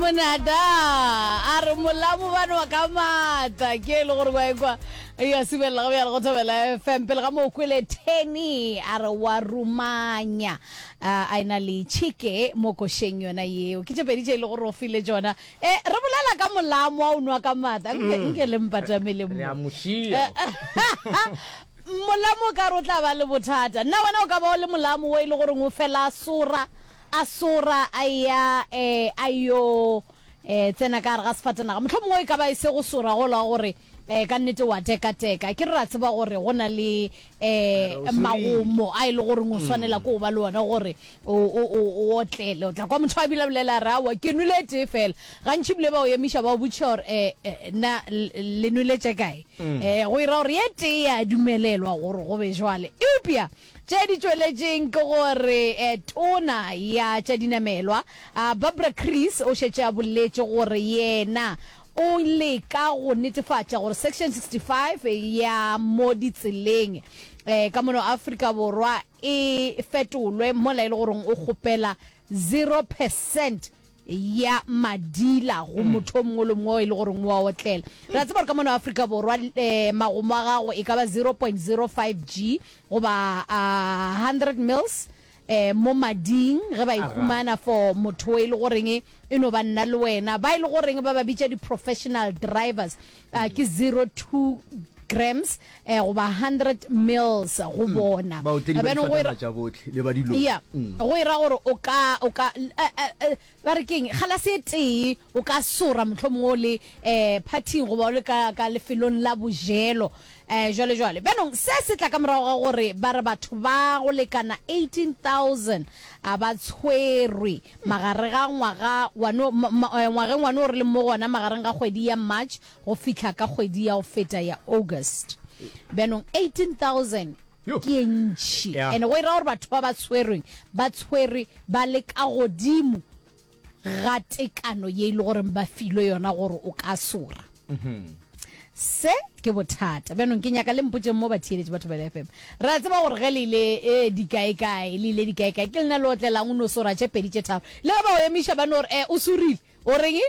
Monada a re molamo ba nwa ka maatla ke e le gore wa ekwa ya subelela ga bjale go thobela fm pele ga mo kwele teni a re wa rumanya a ena le chike mo košeng yona yeo ke tše pedi tše e le gore o file tšona e re bolela ka molamo wa o nwa ka maatla nke nke le mpatamele Re a mo šia. Molamo o ka re o tla ba le bothata. Nna wena o ka ba o le molamo wo e le goreng o fela a sora, a sora a eya eh, a yo eh, tsena ka gare ga sefatanaga. Mohlomongwe e ka ba e se go sora gola gore eh, ka nnete wa tekateka. Ke re ra tseba gore go na le eh, Re o sorile. magomo a e le goreng o swanela ke go ba le ona gore o, o, o, o otlele. O tla kwa motho a bile a bolela a re aowa ke nwele e tee fela. Gantši ebile ba o emiša ba o botšiša gore eh, eh, na le nwele tše kae? Um go ira gore ye tee ya dumelelwa gore go be jwale. Eupša tše di tšweletšeng ke gore eh, tona ya tša dinamelwa Barbara Creecy o šetše a boletše gore yena o leka go netefatša gore Section 65 ya mo ditseleng um ka mono Afrika Borwa e fetolwe mola e le goreng o kgopela zero percent ya madila go motho o mongwe le mongwe e le goreng o a otlela. Re a tseba gore ka mono Afrika Borwa um magomo a gago e ka ba 0.05 G goba 100 mils um mo mading ge ba e humana for motho e le goreng e no ba nna le wena. Ba e le goreng ba ba bitša di-professional drivers ke 0.2 grams um goba 100 mils go bona. Baotledi ba Bjanong go difatanaga tša bohle le ba dilori. Ya, go e ra gore o ka, o ka, ba re keng, galase e tee o ka sora mohlomongwe o le um phathing goba o le ka, ka lefelong la bojelo um jwale jwale. Bjanong se se tla ka morago ga gore ba re batho ba go lekana 18,000 a ba tshwerwe magare ga ngwaga wa no, ngwageng wa no re leng mo go ona magareng ga kgwedi ya March go fihla ka kgwedi ya go feta ya August. Bjanong 18,000 ke ye ntši. Yeah. And go e ra gore batho ba ba tshwerweng ba tshwerwe ba le ka godimo ga tekano ye e le goreng ba filwe yona gore o ka sora. Se ke bothata. Bjanong ke nyaka le mpotšeng mo batheeletši ba Thobela FM. Re a tseba gore ge le ile e dikaekae, le ile dikaekae, ke lena le otlelang o no sora tše pedi tše tharo. Le ge ba o emiša ba no re, eh, o sorile. O reng?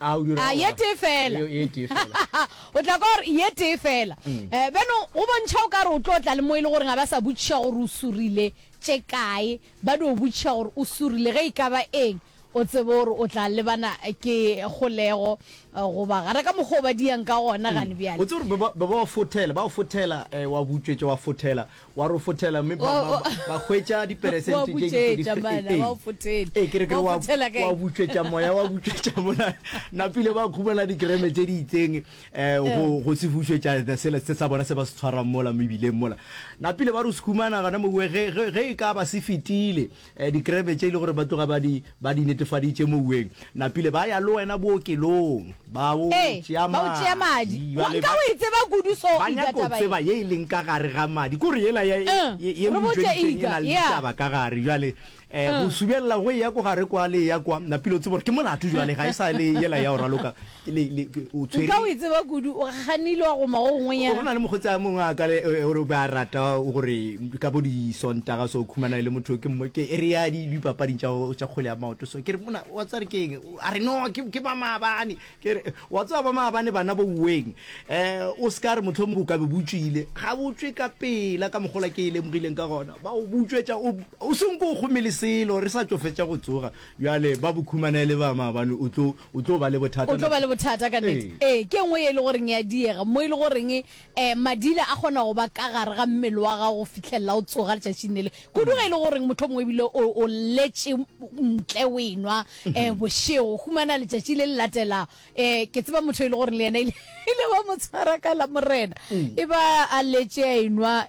A o dira A ye tee fela. Ye tee fela. O tla kwa gore ye tee fela. Mm. Eh, bjanong go bontšha o ka re o tlo tla le mo e le goreng ga ba sa botšiša gore o sorile tše kae, ba dio botšiša gore o sorile ge e ka ba eng, o tsebe gore o tla lebana ke kgolego eh, goba gare ka mokgwa o ba diang ka gona gane bjale. O tsebe gore ba ba ba fothela, ba o fothela eh, wa butšwetša wa fothela wa ro fothela mme ba, ba, ba hwetša diperesente tše di ee, ee, ke re ke re wa, wa butšwetša moya wa butšwetša mola napile ba khumana dikreme tše di itseng um go, go se bušwetša sela se sa bona se ba se tshwarang mola mebileng mola napile ba re se khumana gona mowe ge, ge, ge e ka ba se fetile um dikreme tše e le gore ba tloga ba di ba di netefaditše moweng napile ba ya le wena bookelong ba o Ee, tšea ba o tšea madi. madi Wa, Bjale nka ba o e tseba kudu so ba Ika nyaka go taba ye. tseba ye e leng ka gare ga madi kore yela ya Uh, ye ye re o botše itšweditseng e Ika, na le yeah. ditaba ka gare bjale um go Uh. subelela go eya ko gare kwa le eya kwa napile o tseba gore ke molato bjale ga e sa le yela ya go raloka le le o Nka o tshwere e tseba kudu, o ganile wa goma go go gongwenyana. na le mokgotsi a mongwe a ka le gore o be a rata gore ka bo disontaga so khumana e le motho ke mo ke re ya di dipapading tša tša kgwele ya maoto so ke re mona wa tsare ke eng a re no ke ke ba maabane ke re wa tseba ba maabane bana bo weng eh o se ka re mohlomongwe o ka be butšwile ga butšwe ka pela ka mogola ke e lemogileng ka gona ba o butšwetša o o senko o kgome le selo re sa tšo fetša go tsoga bjale ba bo khumana e le ba maabane o tlo o tlo ba le bothata O tlo ba le bothata ka nnete. Ee. Ee, ke e nngwe ye e le goreng ya diega, mo e le goreng um madila a kgona go ba ka gare ga mmele wa gago go fihlelela o tsoga letšatšing le le. Kudu ge e le goreng mohlomongwe ebile o, o letše ntle o enwa um bošego, o humana letšatši le le latelago. Um ke tseba motho e le goreng le yena ile, ile ba mo tshwara ka Lamorena, e ba a letše a enwa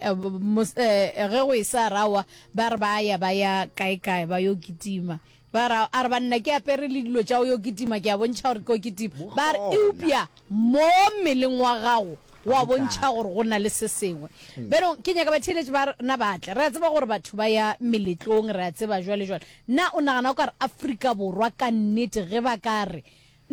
um ge go e sa rawa, ba re ba ya ba ya kae-kae ba yo kitima. Ba re, a re, Banna, ke apere le dilo tša go yo kitima, ke a bontšha gore ke yo kitima. Ba re, Eupša mo mmeleng wa gago go a bontšha gore go na le se sengwe. Bjanong, ke nyaka batheeletši ba rena ba tle. Re a tseba gore batho ba ya meletlong, re a tseba jwale jwale. Na o nagana o ka re Afrika Borwa ka nnete ge ba ka re?